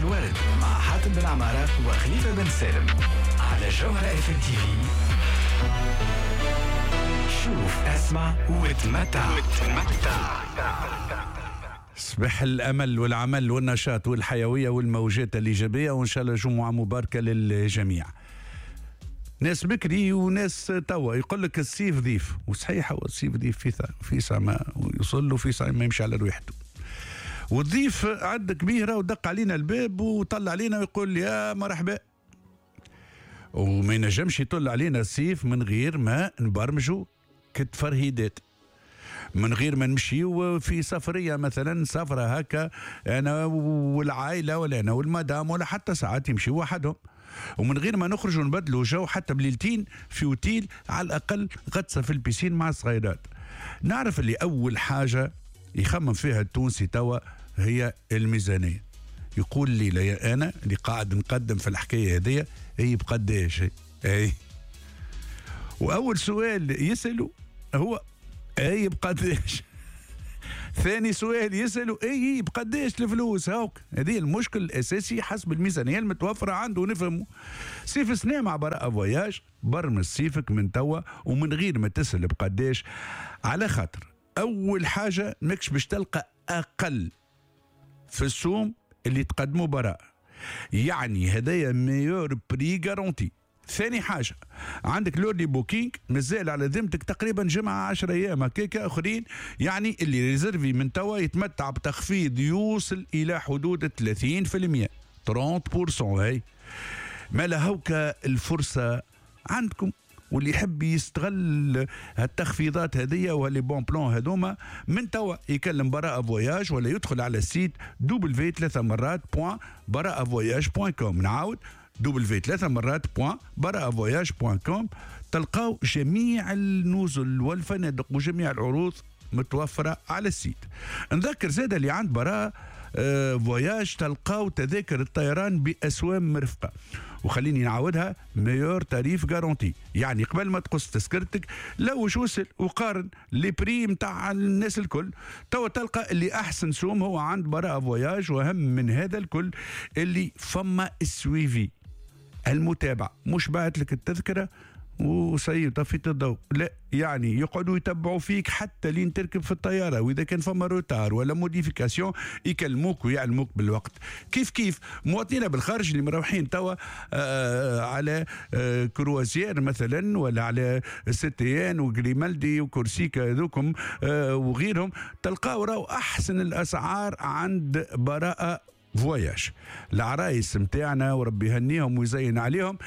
الورد مع حاتم بن عمارة وخليفة بن سالم على جوهرة اف ام تي في. شوف، اسمع وتمتع. صباح الامل والعمل والنشاط والحيوية والموجات الايجابيه، وان شاء الله جمعه مباركة للجميع. ناس بكري وناس توا يقول لك الصيف ضيف، وصحيح هو الصيف ضيف، في ساعة ما يوصل له، في ساعة ما يمشي على رواحته. والضيف عندك كبيرة ودق علينا الباب وطلع علينا ويقول يا مرحبا، وما ينجمش يطل علينا الصيف من غير ما نبرمجوا كتفرهيدات، من غير ما نمشيو في سفرية مثلا، سفرة هكا أنا والعائلة ولا أنا والمدام، ولا حتى ساعات يمشيو وحدهم، ومن غير ما نخرجوا نبدلوا جو حتى بليلتين في اوتيل، على الأقل غطسة في ال piscine مع الصغيرات. نعرف اللي أول حاجة يخمم فيها التونسي توا هي الميزانية. يقول لي لا، أنا اللي قاعد نقدم في الحكاية هذيا هي بقداش أي، وأول سؤال يسأله هو اي بقداش. ثاني سؤال يسألوا اي بقداش الفلوس. هاوك هذه المشكل الاساسي حسب الميزانية المتوفرة عنده. نفهمه صيف سنة مع براءة Voyages، برمج صيفك من توا ومن غير ما تسأل بقداش، على خاطر اول حاجة ماكش باش تلقى اقل في السوم اللي تقدمه براءة، يعني هدايا meilleur prix garanti. ثاني حاجة عندك l'early booking مازال على ذمتك تقريبا جمعة 10 أيام هكاكا آخرين، يعني اللي réservé من توا يتمتع بتخفيض يوصل إلى حدود 30%، 30%. هاي مالا هوكا الفرصة عندكم، واللي يحب يستغل هالتخفيضات هذيا و les bons plans هذوما من توا يكلم براءة Voyages ولا يدخل على ال site w ++.براءة voyage.com. نعاود w ++.براءة voyage.com، تلقاو جميع النزل والفنادق وجميع العروض متوفرة على ال site. نذكر زاد اللي عند براءة Voyages تلقاو تذاكر الطيران بأسوام مرفقة، وخليني نعاودها meilleur tarif garanti، يعني قبل ما تقص تذكرتك لوج وسل وقارن les prix نتاع الناس الكل، توا تلقى اللي احسن سوم هو عند براءة Voyages. واهم من هذا الكل اللي فما ال suivi، المتابعة، مش بعت لك التذكرة وسيب طفيت الضوء، لا، يعني يقعدوا يتبعوا فيك حتى لين تركب في الطيارة، وإذا كان فما retard ولا modification يكلموك ويعلموك بالوقت. كيف كيف مواطنينا بالخارج اللي مروحين توا على croisière مثلا، ولا على ستيان وغريمالدي وكورسيكا هذوكم وغيرهم، تلقاو راهو أحسن الأسعار عند براءة Voyages. العرايس متاعنا وربي يهنيهم ويزين عليهم،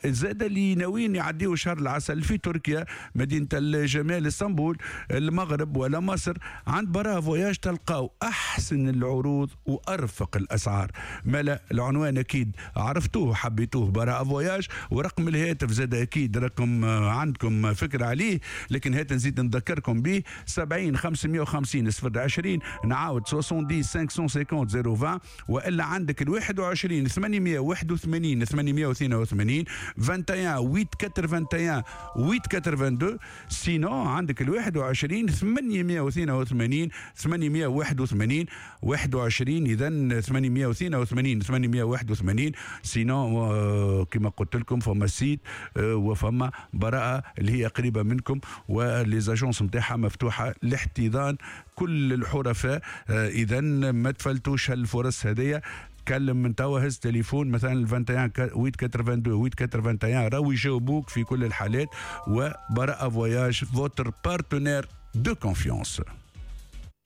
زاد اللي ناويين يعديوا شهر العسل في تركيا، مدينة الجمال اسطنبول، المغرب ولا مصر، عند براءة Voyages تلقاو أحسن العروض وأرفق الأسعار. مالا العنوان أكيد عرفتوه حبيتوه، براءة Voyages، ورقم الهاتف زاد أكيد رقم عندكم فكرة عليه، لكن هات نزيد نذكركم به 70 550 020، نعاود 70 550 020، والا عندك ال 21 881 882 21 881 882، sinon عندك ال 21 882 881 21، اذا 882 881. sinon كما قلت لكم فما site وفما براءة اللي هي قريبة منكم، و les agences نتاعها مفتوحة لاحتضان كل الحرفاء. اذا ما تفلتوش هالفرص هذيا، تكلم من توا، هز تليفون مثلا ال 21 882 881، راهو يجاوبوك في كل الحالات. وبراءة Voyages votre partenaire de confiance.